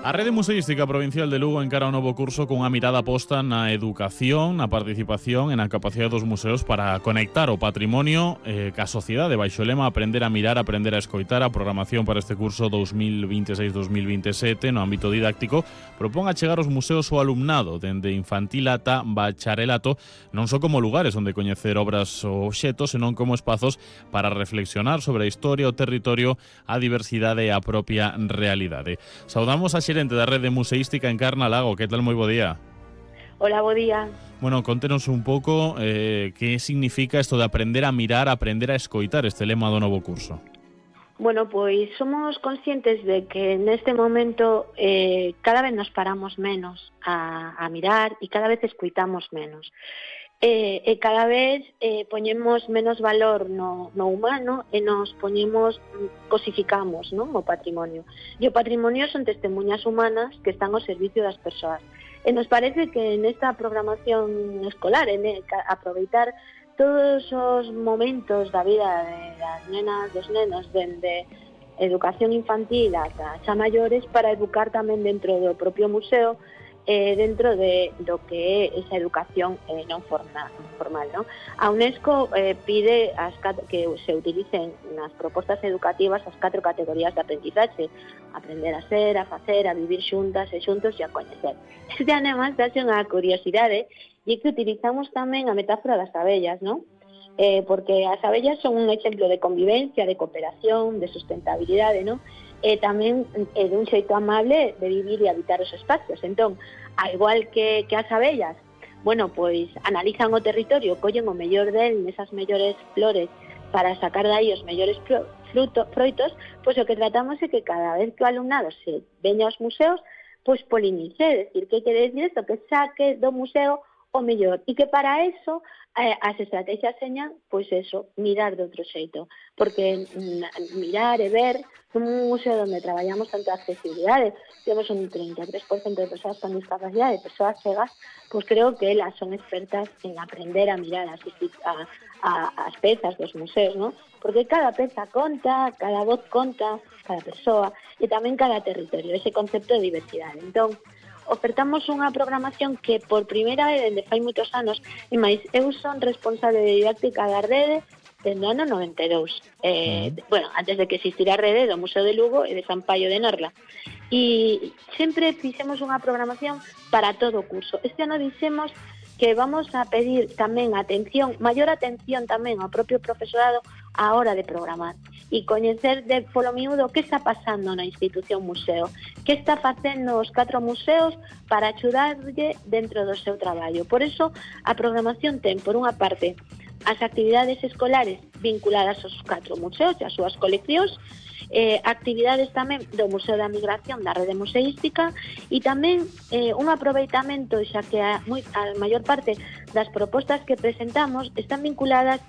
A Rede Museística Provincial de Lugo encara un novo curso cunha mirada posta na educación, na participación e na capacidade dos museos para conectar o patrimonio ca sociedade. Baixo o lema Aprender a mirar, aprender a escoitar, a programación para este curso 2026-2027 no ámbito didáctico propón achegar os museos ao alumnado dende infantil ata bacharelato, non só como lugares onde coñecer obras ou obxetos, senón como espazos para reflexionar sobre a historia, o territorio, a diversidade e a propia realidade. Saudamos a xerente da Rede Museística Encarna Lago. Que tal? Moi bo día. Hola, bo día. Bueno, contenos un pouco que significa isto de aprender a mirar, aprender a escoitar, este lema do novo curso. Bueno, pois somos conscientes de que neste momento cada vez nos paramos menos a mirar e cada vez escoitamos menos. E cada vez poñemos menos valor no humano e nos cosificamos, non, o patrimonio. E o patrimonio son testemunhas humanas que están ao servicio das persoas. E nos parece que nesta programación escolar, aproveitar todos os momentos da vida das nenas, dos nenos, dende educación infantil ata xa maiores, para educar tamén dentro do propio museo, dentro do que é esa educación non formal, non? A UNESCO pide que se utilicen nas propostas educativas as 4 categorías de aprendizaxe: aprender a ser, a facer, a vivir xuntas e xuntos e a coñecer. Este además dáse unha curiosidade, e que utilizamos tamén a metáfora das abellas, non? Porque as abellas son un exemplo de convivencia, de cooperación, de sustentabilidade, non? E tamén dun xeito amable de vivir e habitar os espacios. Entón, ao igual que as abellas, bueno, pois analizan o territorio, collen o mellor del nesas mellores flores para sacar dai os mellores froitos, pois o que tratamos é que cada vez que o alumnado se veña aos museos, pois polinice, é dicir, que quere dicir isto, que saque do museo o mellor, e que para eso as estrategias señan, pois eso, mirar de outro xeito, porque mirar e ver, un museo onde traballamos tanto a accesibilidade, temos un 33% de persoas con discapacidade, persoas cegas, pois creo que elas son expertas en aprender a mirar as pezas dos museos, non? Porque cada peza conta, cada voz conta, cada persoa, e tamén cada territorio, ese concepto de diversidade. Entón, ofertamos unha programación que por primeira vez dende fai moitos anos, e máis eu son responsable de didáctica da rede dende o ano 92. Bueno, antes de que existira a rede do Museo de Lugo e de San Paio de Norla. E sempre fixemos unha programación para todo o curso. Este ano dixemos que vamos a pedir tamén maior atención tamén ao propio profesorado á hora de programar e coñecer polo miúdo que está pasando na institución museo, que está facendo os 4 museos para axudarlle dentro do seu traballo. Por eso, a programación ten, por unha parte, as actividades escolares vinculadas aos 4 museos e as súas coleccións, actividades tamén do Museo da Migración da Rede Museística e tamén un aproveitamento, xa que a maior parte das propostas que presentamos están vinculadas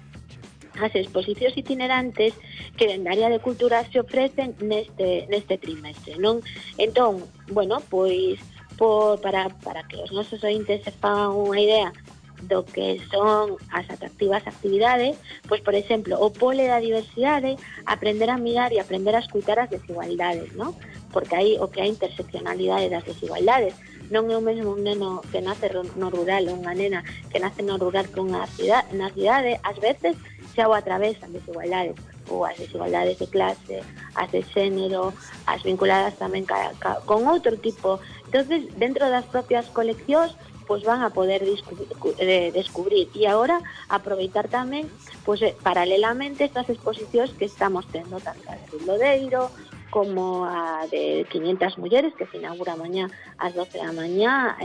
as exposicións itinerantes que dende a área de cultura se ofrecen neste trimestre, non? Entón, bueno, pois para que os nosos ointes se fagan unha idea do que son as atractivas actividades, pois, por exemplo, o pole da diversidade, aprender a mirar e aprender a escutar as desigualdades, non? Porque aí o que é a interseccionalidade das desigualdades. Non é o mesmo un neno que nace no rural ou unha nena que nace no rural que na cidade, ás veces xa o atravesan desigualdades, ou as desigualdades de clase, as de xénero, as vinculadas tamén con outro tipo. Entonces, dentro das propias coleccións, pois van a poder descubrir e agora aproveitar tamén, pois paralelamente estas exposicións que estamos tendo, tanto a de Lodeiro como a de 500 mulleres, que se inaugura mañá ás 12 da mañá